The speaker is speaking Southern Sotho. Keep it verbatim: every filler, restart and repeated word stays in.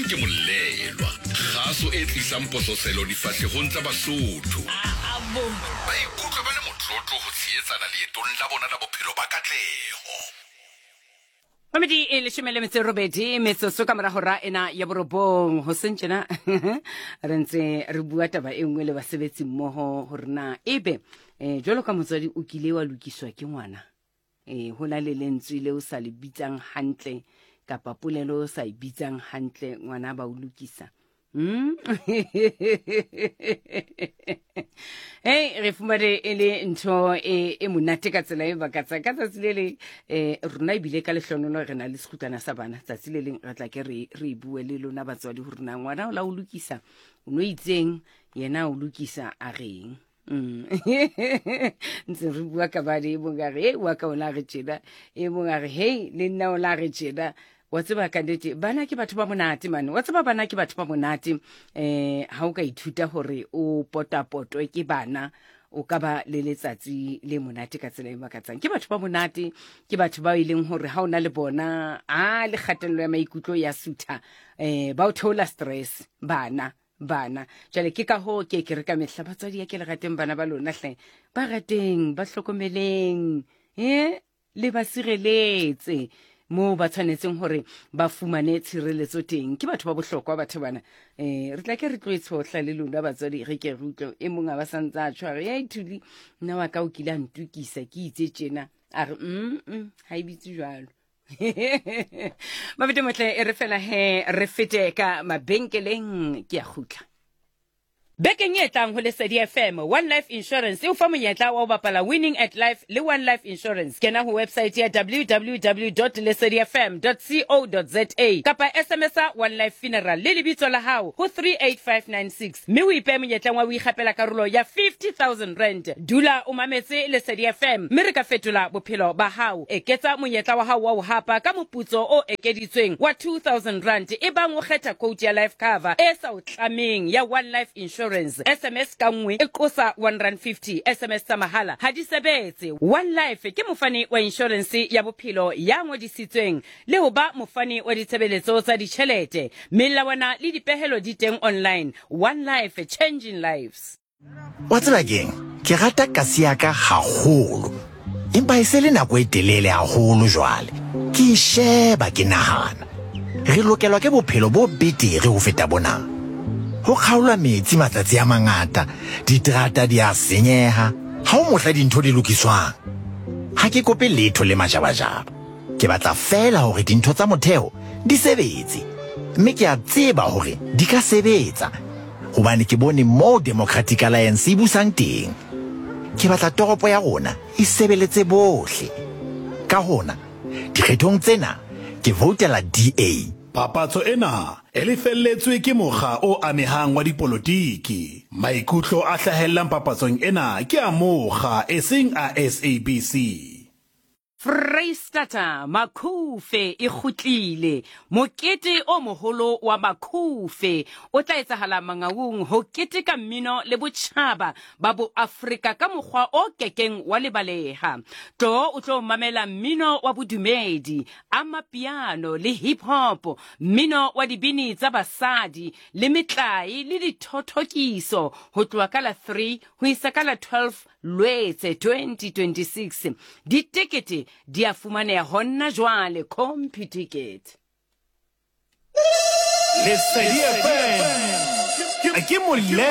Teng ke Molelwa, kgaso e tlisang pososelo difahlehong tsa Basotho. Ba ikutlwa ba le motlotlo ho tshehetsana leetong la bona la bophelo ba katleho. Mamedi e leshome le metso e robedi metsotso ka mora hora ena ya borobong. Hoseng tjena re ntse re bua taba e nngwe le basebetsi mmoho hore na ebe um jwalo ka motswadi o kile wa lokiswa ke ngwana, um ho na le lentswe le o sa le bitsang hantle kapa polelo o sa e bitsang hantle, ngwana ba o lokisa. Mm. Hey, re fumane e le ntho e e monate ka tsela e makatsang. Ka tsatsi le leng um rona ebile ka lehlonolo re na le sekgutlwana sa bana. Tsatsi le leng re tla ke re re bue le lona batswadi hore na ngwana o la o lokisa o no itseng, yena o lokisa a reng. Mm. Ntse re bua ka bane, e mong a re e wa ka o la re tjena, e mong a re hei le nna o la re tjena. Wa tseba ka nnete bana ke batho ba monate mane, wa tseba bana ke batho ba monate. um ha o ka ithuta hore o potapotwe ke bana, o ka ba le letsatsi le monate ka tsela e makatsang. Ke batho ba monate, ke batho ba e leng hore ha o na le bona a le kgatello ya maikutlo ya sutha, um ba o theola stress bana bana. Jwale ke ka hoo ke ke re ka mehla batswadi ya ke le rateng bana ba lona hle, ba rateng, ba hlokomeleng, eh le ba sireletse moo ba tshwanetseng hore ba fumane tshireletso teng. Ke batho ba bohlokwa batho bana. um re tla ke re tlo e tshohla le lona batswadi, re ke re utlwe e mong a ba santse a tshware ya ithuli nna wa ka o kile a ntukisa ke itse tjena, a re mm ha e bitse jwalo. Mabete motle e re fela he re fete ka mabenkeleng, ke a kgutla. Bekeng e tlang ho Lesedi F M, One Life Insurance e o fa monyetla wa ho bapala Winning at Life le One Life Insurance. Kena ho website ya w w w dot lesedi f m dot co dot z a kapa S M S a One Life Funeral le lebitso la hao ho three eight five nine six mme o ipehe monyetleng wa ho ikgapela karolo ya fifty thousand rand. Dula o mametse Lesedi F M mme re ka fetola bophelo ba hao. Eketsa monyetla wa hao wa ho hapa ka moputso o ekeditsweng wa two thousand rand ebang o kgetha quote ya life cover e sa o tlameng ya One Life Insurance. S M S ka nngwe e qosa one rand fifty. S M S tsa mahala ha di sebetse. One Life ke mofani wa insurance ya bophelo ya ngodisitsweng le ho ba mofani wa ditshebeletso tsa ditjhelete. Melawana le dipehelo di teng online. One Life, changing lives. Wa tseba keng? Ke rata kasi ya ka haholo, empa e se le nako e telele haholo jwale. Ke e sheba ke nahana, re lokelwa ke bophelo bo betere ho feta bona. Ho kgaolwa metsi matsatsi a mangata, diterata di a senyeha, ha ho mohla dintho di lokiswang. Ha ke kope letho le majabajaba, ke batla feela hore dintho tsa motheo di sebetse, mme ke a tseba hore di ka sebetsa hobane ke bone moo Democratic Alliance e busang teng. Ke batla toropo ya rona e sebeletse bohle. Ka hona, dikgethong tsena ke voutela D A. Papatso ena e lefelletswe ke mokga o amehang wa dipolotiki. Maikutlo a hlahellang papatsong ena ke a mokga eseng a S A B C. Freistata Makhufe e kgutlile. Mokete o moholo wa Makhufe o tla etsahala Mangaung ho keteka mmino le botjhaba ba bo Afrika ka mokgwa o kekeng wa lebaleha. Tlo o tlo mamela mmino wa bodumedi, amapiano le hip hop, mmino wa dibini tsa basadi le metlae le dithothokiso ho tloha ka la three ho isa ka la twelve Lwetse twenty twenty-six. Ditekete di a fumaneha hona jwale Computicket. Lesedi F M ke molelwa.